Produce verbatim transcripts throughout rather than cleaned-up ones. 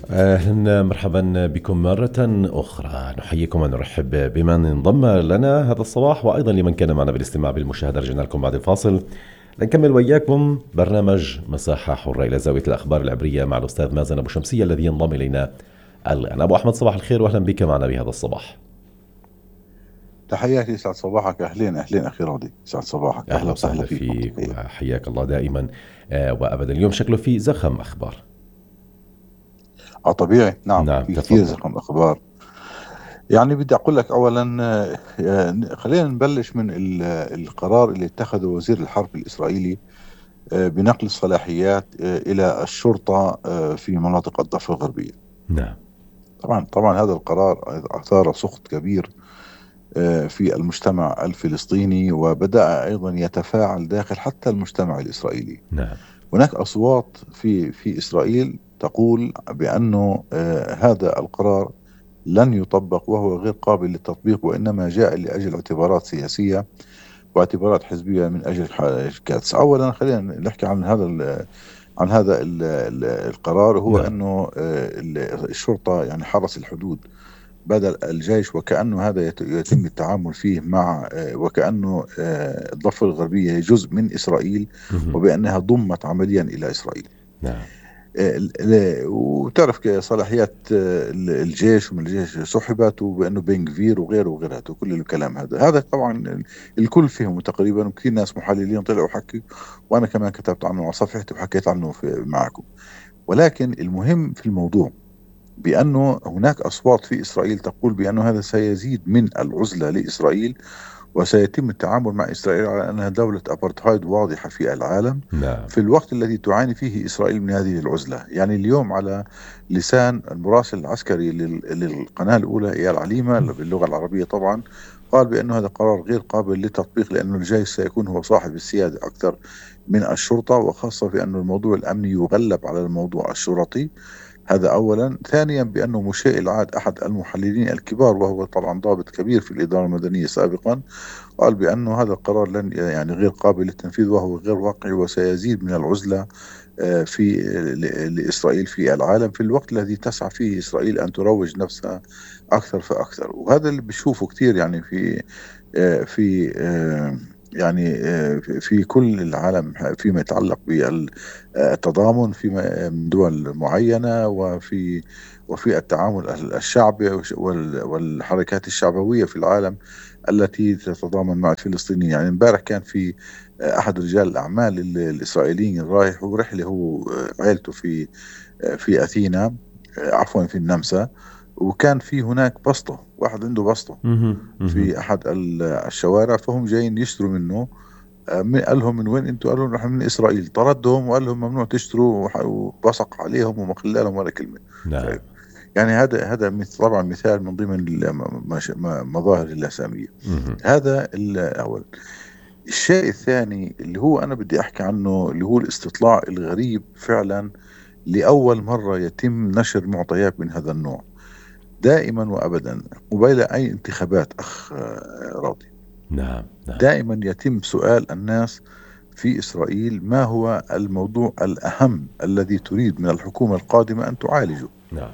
أهلا مرحبا بكم مرة أخرى. نحييكم ونرحب بمن انضم لنا هذا الصباح، وأيضا لمن كان معنا بالاستماع بالمشاهدة. رجعنا لكم بعد الفاصل لنكمل وإياكم برنامج مساحة حرة إلى زاوية الأخبار العبرية مع الأستاذ مازن أبو شمسية الذي ينضم إلينا الآن. أبو أحمد، صباح الخير وأهلا بك معنا بهذا الصباح. تحياتي، سعد صباحك. أهلين أهلين أخي راضي، سعد صباحك. أهلا وسهلا فيك وحياك الله دائما وأبدا. اليوم شكله في زخم أخبار. اه طبيعي، نعم, نعم في كثير زخم أخبار. يعني بدي أقول لك أولا، خلينا نبلش من القرار اللي اتخذه وزير الحرب الإسرائيلي بنقل الصلاحيات إلى الشرطة في مناطق الضفة الغربية. نعم. طبعا طبعا هذا القرار أثار سخط كبير في المجتمع الفلسطيني، وبدأ أيضا يتفاعل داخل حتى المجتمع الإسرائيلي. نعم. هناك أصوات في في إسرائيل تقول بأنه آه هذا القرار لن يطبق وهو غير قابل للتطبيق، وإنما جاء لأجل اعتبارات سياسية واعتبارات حزبية من أجل كاتس. أولا خلينا نحكي عن هذا عن هذا ال ال القرار. هو نعم. أنه آه الشرطة يعني حرس الحدود بدل الجيش، وكأنه هذا يتم التعامل فيه مع وكأنه الضفة الغربية جزء من إسرائيل، وبأنها ضمت عمليا إلى إسرائيل. نعم. وتعرف صلاحيات الجيش ومن الجيش سحبت، وبأنه بن غفير وغيره وغيره وكل الكلام هذا هذا طبعا الكل فيهم تقريبا، وكثير ناس محللين طلعوا حكي، وأنا كمان كتبت عنه على صفحتي وحكيت عنه معكم. ولكن المهم في الموضوع بأنه هناك أصوات في إسرائيل تقول بأنه هذا سيزيد من العزلة لإسرائيل، وسيتم التعامل مع إسرائيل على أنها دولة أبرتهايد واضحة في العالم. نعم. في الوقت الذي تعاني فيه إسرائيل من هذه العزلة. يعني اليوم على لسان المراسل العسكري للقناة الأولى إيال عليمة باللغة العربية طبعا، قال بأنه هذا قرار غير قابل للتطبيق، لأنه الجيش سيكون هو صاحب السيادة أكثر من الشرطة، وخاصة في أن الموضوع الأمني يغلب على الموضوع الشرطي. هذا أولا. ثانيا بأنه مشيء العاد أحد المحللين الكبار، وهو طبعا ضابط كبير في الإدارة المدنية سابقا، قال بأنه هذا القرار لن يعني غير قابل للتنفيذ وهو غير واقعي، وسيزيد من العزلة في لإسرائيل في العالم، في الوقت الذي تسعى فيه إسرائيل أن تروج نفسها أكثر فأكثر. وهذا اللي بشوفه كتير يعني في في يعني في كل العالم فيما يتعلق بالتضامن في دول معينة، وفي وفي التعامل الشعبي والحركات الشعبوية في العالم التي تتضامن مع الفلسطينيين. يعني امبارح كان في أحد رجال الأعمال الإسرائيليين رايح ورحلة هو عائلته في في أثينا، عفوا في النمسا، وكان في هناك بسطة، واحد عنده بسطة في أحد الشوارع، فهم جايين يشتروا منه. قال لهم من وين انتوا؟ قالوا نحن من إسرائيل. طردهم وقال لهم ممنوع تشتروا، وبصق عليهم وما خلى لهم ولا كلمة. نعم. يعني هذا هذا طبعا مثال من ضمن مظاهر اللاسامية. هذا الأول. الشيء الثاني اللي هو أنا بدي أحكي عنه، اللي هو الاستطلاع الغريب فعلا. لأول مرة يتم نشر معطيات من هذا النوع. دائما وأبدا قبيل أي انتخابات أخ راضي، نعم. نعم. دائما يتم سؤال الناس في إسرائيل ما هو الموضوع الأهم الذي تريد من الحكومة القادمة أن تعالجه. نعم.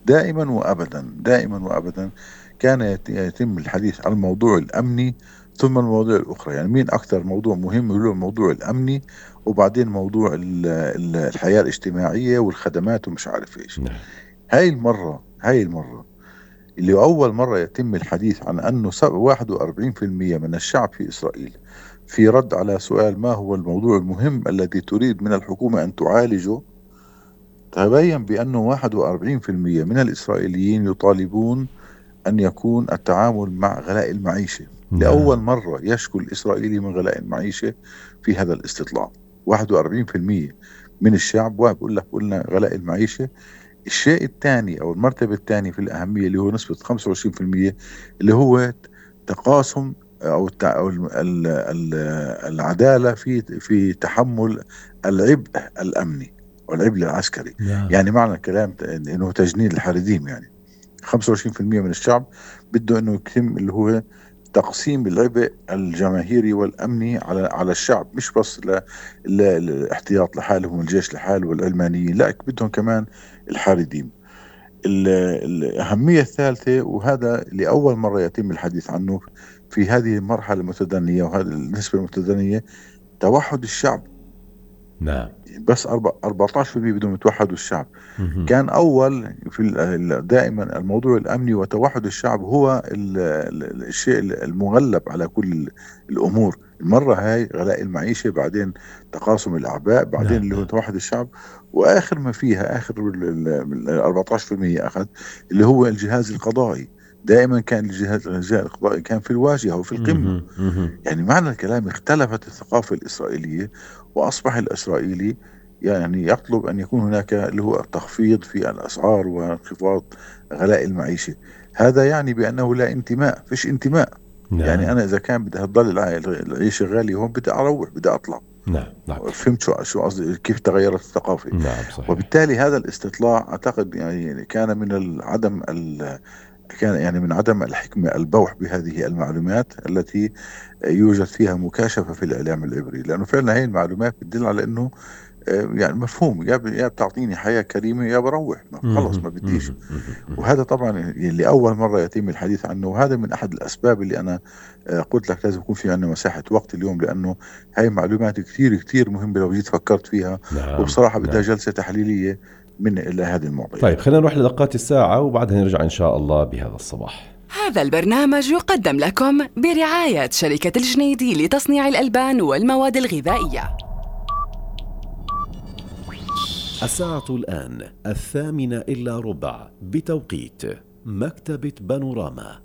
دائما وأبدا دائما وأبدا كان يتم الحديث عن الموضوع الأمني ثم المواضيع الأخرى. يعني مين أكثر موضوع مهم هو الموضوع الأمني، وبعدين موضوع الحياة الاجتماعية والخدمات ومش عارف إيش. نعم. هاي المرة هاي المرة اللي أول مرة يتم الحديث عن أنه واحد وأربعين بالمئة من الشعب في إسرائيل في رد على سؤال ما هو الموضوع المهم الذي تريد من الحكومة أن تعالجه، تبين بأنه واحد وأربعين بالمئة من الإسرائيليين يطالبون أن يكون التعامل مع غلاء المعيشة. نعم. لأول مرة يشكو الإسرائيلي من غلاء المعيشة في هذا الاستطلاع. واحد وأربعين بالمئة من الشعب وبقول لك قلنا غلاء المعيشة. الشيء الثاني أو المرتبة الثانية في الأهمية اللي هو نسبة خمسة وعشرين بالمئة اللي هو تقاسم أو العدالة في في تحمل العبء الأمني والعبء العسكري. نعم. يعني معنى الكلام إنه تجنيد الحريديم. يعني خمسة وعشرين بالمئة من الشعب بده إنه يتم اللي هو تقسيم العبء الجماهيري والأمني على على الشعب، مش بس للاحتياط لحالهم والجيش لحاله والعلمانيين، لا بدهم كمان الحارديم. ال- الأهمية الثالثة، وهذا لأول مرة يتم الحديث عنه في هذه المرحلة المتدنية وهذه النسبة المتدنية، توحد الشعب. نعم. بس أربعة عشر بالمئة بدهم يتوحدوا الشعب. مهم. كان أول في ال- ال- دائما الموضوع الأمني وتوحد الشعب هو ال- ال- الشيء المغلب على كل ال- الأمور. المرة هاي غلاء المعيشة، بعدين تقاسم الأعباء، بعدين نعم اللي هو نعم. توحد الشعب، وآخر ما فيها آخر ال- ال- ال- أربعة عشر بالمئة أخذ اللي هو الجهاز القضائي. دائما كان الجهاز الجهاز القضائي كان في الواجهة وفي القمة. مهم. مهم. يعني معنى الكلام اختلفت الثقافة الإسرائيلية، وأصبح الإسرائيلي يعني يطلب أن يكون هناك اللي هو تخفيض في الأسعار وانخفاض غلاء المعيشة. هذا يعني بأنه لا انتماء، فيش انتماء. يعني نعم أنا إذا كان بدي هتضل الع- العيشة غالية هون، بدي أروح، بدي أطلع. نعم نعم. فهمت شو شو قصدي، كيف تغيرت الثقافة. نعم صحيح. وبالتالي هذا الاستطلاع أعتقد يعني كان من العدم ال كان يعني من عدم الحكمة البوح بهذه المعلومات التي يوجد فيها مكاشفة في الإعلام العبري، لأنه فعلا هي المعلومات بتدل على أنه آه، يعني مفهوم، يا ب- يا بتعطيني حياة كريمة يا بروح، ما خلص مهم. ما بديش. مهم. مهم. وهذا طبعا اللي أول مرة يتم الحديث عنه، وهذا من أحد الأسباب اللي أنا آه، قلت لك لازم يكون في عندنا مساحة وقت اليوم، لأنه هاي معلومات كتير كتير مهمة لو جيت فكرت فيها، نعم وبصراحة بدها نعم. جلسة تحليلية من إلى هذه المواضيع. طيب خلينا نروح لدقات الساعة وبعدها نرجع إن شاء الله بهذا الصباح. هذا البرنامج يقدم لكم برعاية شركة الجنيدي لتصنيع الألبان والمواد الغذائية. الساعة الآن الثامنة إلا ربع بتوقيت مكتبة بانوراما.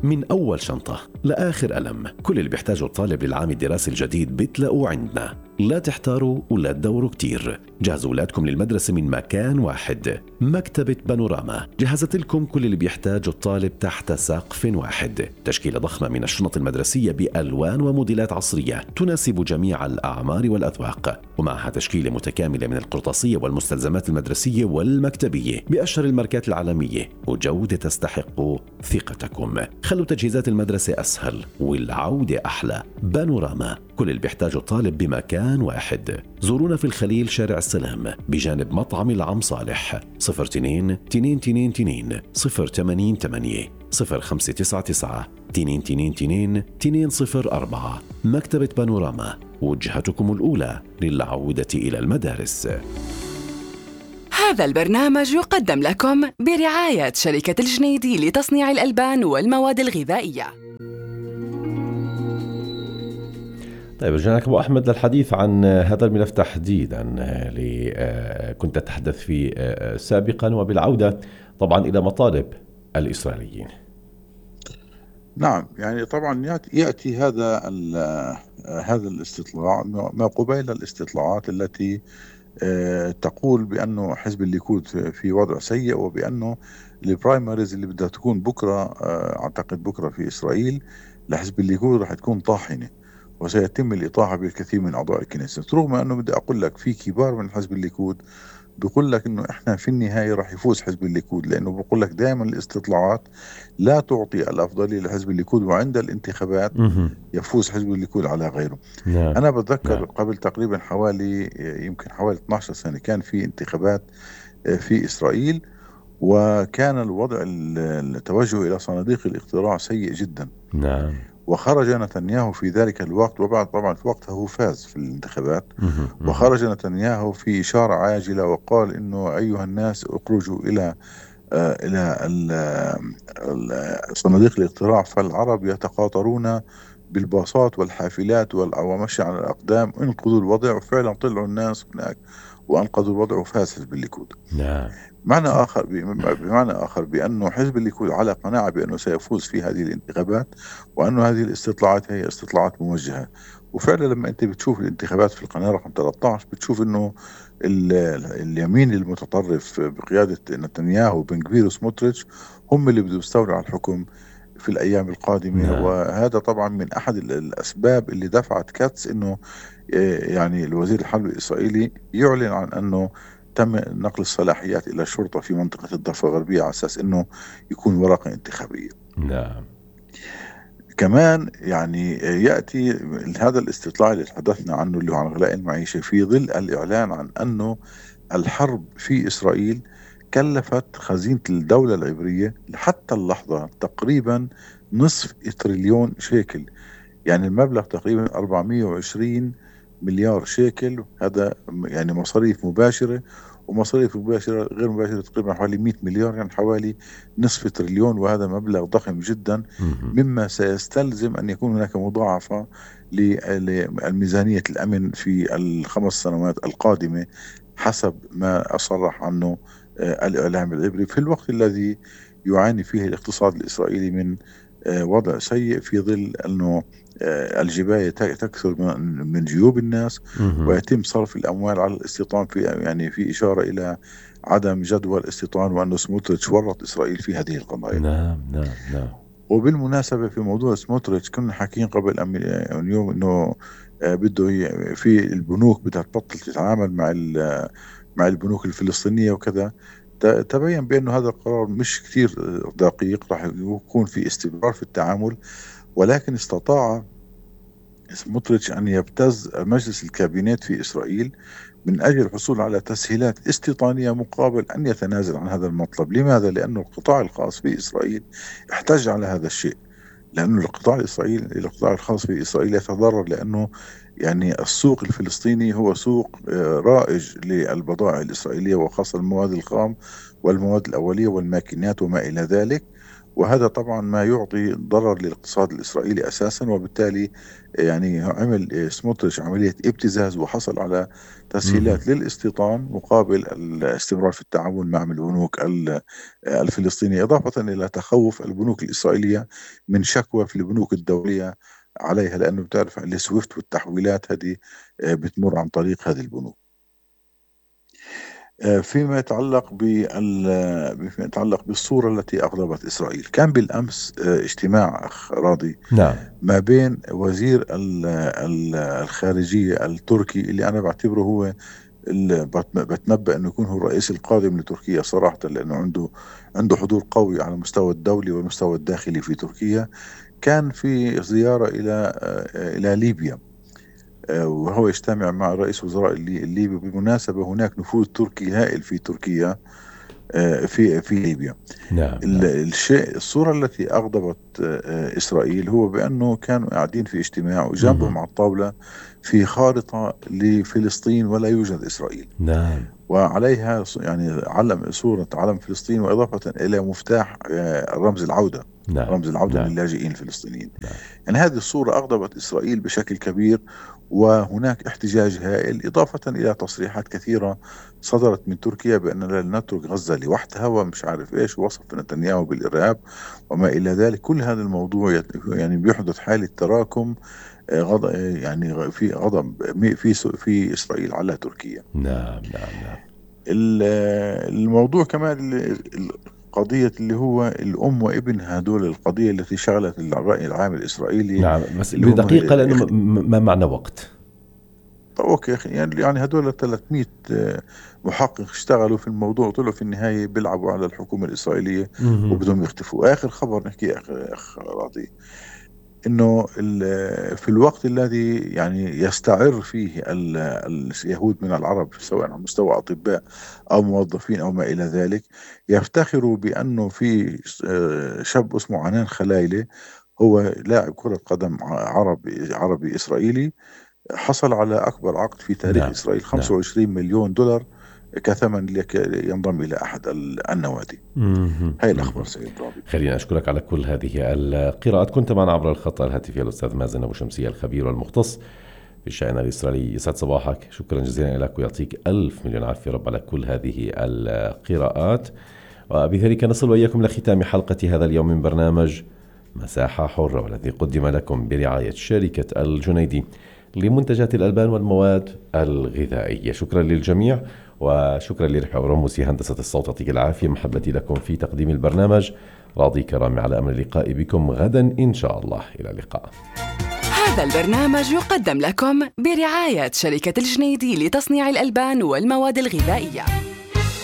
من أول شنطة لآخر قلم، كل اللي بيحتاجه الطالب للعام الدراسي الجديد بتلاقوه عندنا. لا تحتاروا ولا تدوروا كتير، جهزوا أولادكم للمدرسة من مكان واحد. مكتبة بانوراما جهزت لكم كل اللي بيحتاجه الطالب تحت سقف واحد. تشكيلة ضخمة من الشنط المدرسية بألوان وموديلات عصرية تناسب جميع الأعمار والأذواق، ومعها تشكيلة متكاملة من القرطاسية والمستلزمات المدرسية والمكتبية بأشهر الماركات العالمية، وجودة تستحق ثقتكم. خلوا تجهيزات المدرسة أسهل والعودة أحلى. بانوراما، كل اللي بيحتاجه الطالب بمكان واحد. زورونا في الخليل شارع السلام بجانب مطعم العم صالح. صفر اثنين تنين تنين تنين صفر ثمانين ثمانية صفر خمسة تسعة تسعة تنين تنين تنين تنين صفر أربعة. مكتبة بانوراما، وجهتكم الأولى للعودة إلى المدارس. هذا البرنامج يقدم لكم برعاية شركة الجنيدي لتصنيع الألبان والمواد الغذائية. طيب رجعنا لك أبو أحمد للحديث عن هذا الملف تحديدا اللي كنت أتحدث فيه سابقا، وبالعودة طبعا إلى مطالب الإسرائيليين. نعم، يعني طبعا يأتي, يأتي هذا هذا الاستطلاع ما قبيل الاستطلاعات التي آه، تقول بأنه حزب الليكود في وضع سيء، وبأنه البرايمريز اللي بدها تكون بكرة آه، أعتقد بكرة في إسرائيل لحزب الليكود رح تكون طاحنة، وسيتم الإطاحة بالكثير من أعضاء الكنيسة. رغم أنه بدي أقول لك في كبار من حزب الليكود بيقول لك انه احنا في النهايه راح يفوز حزب الليكود، لانه بيقول لك دائما الاستطلاعات لا تعطي الافضليه لحزب الليكود، وعند الانتخابات مهم. يفوز حزب الليكود على غيره. نعم. انا بتذكر نعم. قبل تقريبا حوالي يمكن حوالي اثنتي عشرة سنه كان في انتخابات في اسرائيل، وكان الوضع التوجه الى صناديق الاقتراع سيء جدا. نعم. وخرج نتنياهو في ذلك الوقت، وبعد طبعا في وقتها هو فاز في الانتخابات، مهم. مهم. وخرج نتنياهو في إشارة عاجلة وقال إنه أيها الناس اخرجوا إلى آه إلى ال- ال- صناديق الاقتراع، فالعرب يتقاطرون بالباصات والحافلات والع- ومشي على الأقدام، انقذوا الوضع. وفعلا طلعوا الناس هناك وأنقذوا الوضع وفاز حزب الليكود. نعم. معنى آخر بمعنى آخر بأنه حزب الليكود على قناعة بأنه سيفوز في هذه الانتخابات، وأنه هذه الاستطلاعات هي استطلاعات موجهة. وفعلا لما أنت بتشوف الانتخابات في القناة رقم ثلاثة عشر بتشوف أنه ال- اليمين المتطرف بقيادة نتنياهو وبن كفير وسموتريتش هم اللي بدهم يستولوا على الحكم في الأيام القادمة. نعم. وهذا طبعا من أحد ال- الأسباب اللي دفعت كاتس أنه آه، يعني الوزير الحرب الإسرائيلي يعلن عن أنه تم نقل الصلاحيات إلى الشرطة في منطقة الضفة الغربية على أساس أنه يكون ورقة انتخابية. نعم. كمان يعني يأتي هذا الاستطلاع اللي تحدثنا عنه اللي هو عن غلاء المعيشة في ظل الإعلان عن أنه الحرب في إسرائيل كلفت خزينة الدولة العبرية حتى اللحظة تقريبا نصف تريليون شيكل، يعني المبلغ تقريبا أربعمائة وعشرين مليار شيكل. هذا يعني مصاريف مباشرة، ومصاريف مباشرة غير مباشرة تقريبا حوالي مئة مليار، يعني حوالي نصف تريليون، وهذا مبلغ ضخم جدا، مما سيستلزم أن يكون هناك مضاعفة للميزانية الأمن في الخمس سنوات القادمة حسب ما أصرح عنه الإعلام العبري، في الوقت الذي يعاني فيه الاقتصاد الإسرائيلي من وضع سيء، في ظل أنه الجباية تكثر من جيوب الناس ويتم صرف الأموال على الاستيطان، في يعني في إشارة إلى عدم جدوى الاستيطان، وأنه سموتريتش ورط إسرائيل في هذه القضايا. نعم نعم نعم. وبالمناسبة في موضوع سموتريتش كنا حاكين قبل يوم أنه بده في البنوك بدها تبطل تتعامل مع مع البنوك الفلسطينية وكذا. تبين بأنه هذا القرار مش كتير دقيق، راح يكون في استمرار في التعامل، ولكن استطاع سموتريتش أن يبتز مجلس الكابينات في إسرائيل من أجل الحصول على تسهيلات استيطانية مقابل أن يتنازل عن هذا المطلب. لماذا؟ لأنه القطاع الخاص في إسرائيل احتج على هذا الشيء، لأنه القطاع الإسرائيلي القطاع الخاص في إسرائيل يتضرر، لأنه يعني السوق الفلسطيني هو سوق رائج للبضائع الإسرائيلية، وخاصة المواد الخام والمواد الأولية والماكينات وما إلى ذلك، وهذا طبعا ما يعطي ضرر للاقتصاد الإسرائيلي أساسا. وبالتالي يعني عمل سموتريتش عملية ابتزاز وحصل على تسهيلات مم. للاستيطان مقابل الاستمرار في التعاون مع البنوك الفلسطينية، إضافة إلى تخوف البنوك الإسرائيلية من شكوى في البنوك الدولية عليها، لأنه بتعرف السويفت والتحويلات هذه بتمر عن طريق هذه البنوك. فيما يتعلق بال فيما يتعلق بالصورة التي أغضبت إسرائيل، كان بالأمس اجتماع أخ راضي نعم. ما بين وزير الخارجية التركي، اللي أنا بعتبره هو بتنبأ أنه يكون هو الرئيس القادم لتركيا صراحة، لأنه عنده عنده حضور قوي على المستوى الدولي والمستوى الداخلي في تركيا. كان في زيارة إلى إلى ليبيا، وهو يجتمع مع رئيس وزراء الليبي. بالمناسبة هناك نفوذ تركي هائل في تركيا في في ليبيا. نعم. الشيء الصورة التي أغضبت إسرائيل هو بأنه كانوا قاعدين في اجتماع وجنبهم على الطاولة في خارطة لفلسطين ولا يوجد إسرائيل. نعم. وعليها يعني علم صورة علم فلسطين، وإضافة إلى مفتاح رمز العودة. نعم. رمز العودة نعم. للاجئين الفلسطينيين. نعم. يعني هذه الصورة أغضبت إسرائيل بشكل كبير، وهناك احتجاج هائل، إضافة إلى تصريحات كثيرة صدرت من تركيا بأن لن نترك غزة لوحدها ومش عارف إيش، وصف نتنياهو بالإرهاب وما إلى ذلك. كل هذا الموضوع يعني بيحدث حالة تراكم غضب، يعني في غضب في في إسرائيل على تركيا. نعم نعم نعم. الموضوع كمان قضية اللي هو الأم وابن، هدول القضية التي شغلت الرأي العام الإسرائيلي. نعم، بس بدقيقة لأنه ما معنا وقت. طب أوكي، يعني هدول ثلاثمئة محقق اشتغلوا في الموضوع، طلعوا في النهاية بيلعبوا على الحكومة الإسرائيلية وبدهم يختفوا. آخر خبر نحكي آخر أخ راضي، إنه في الوقت الذي يعني يستعر فيه اليهود من العرب سواء على مستوى أطباء أو موظفين أو ما إلى ذلك، يفتخروا بأنه في شاب اسمه عنان خلايلة، هو لاعب كرة قدم عربي عربي إسرائيلي، حصل على أكبر عقد في تاريخ نعم. إسرائيل خمسة وعشرين نعم. مليون دولار كثمن ينضم إلى أحد النوادي. هاي الأخبار سيد رابي. خلينا أشكرك على كل هذه القراءات. كنت معنا عبر الخط الهاتفي الأستاذ مازن أبو شمسية، الخبير والمختص في الشأن الإسرائيلي. يسعد صباحك، شكرا جزيلا لك ويعطيك ألف مليون عافية رب على كل هذه القراءات. وبذلك نصل وإياكم لختام حلقة هذا اليوم من برنامج مساحة حرة، والذي قدم لكم برعاية شركة الجنيدي لمنتجات الألبان والمواد الغذائية. شكرا للجميع، وشكرا لرحى ورموسي هندسة الصوت. يعطيك العافية. محبتي لكم في تقديم البرنامج، راضي كرامي، على أمل اللقاء بكم غدا إن شاء الله. إلى اللقاء. هذا البرنامج يقدم لكم برعاية شركة الجنيدي لتصنيع الألبان والمواد الغذائية.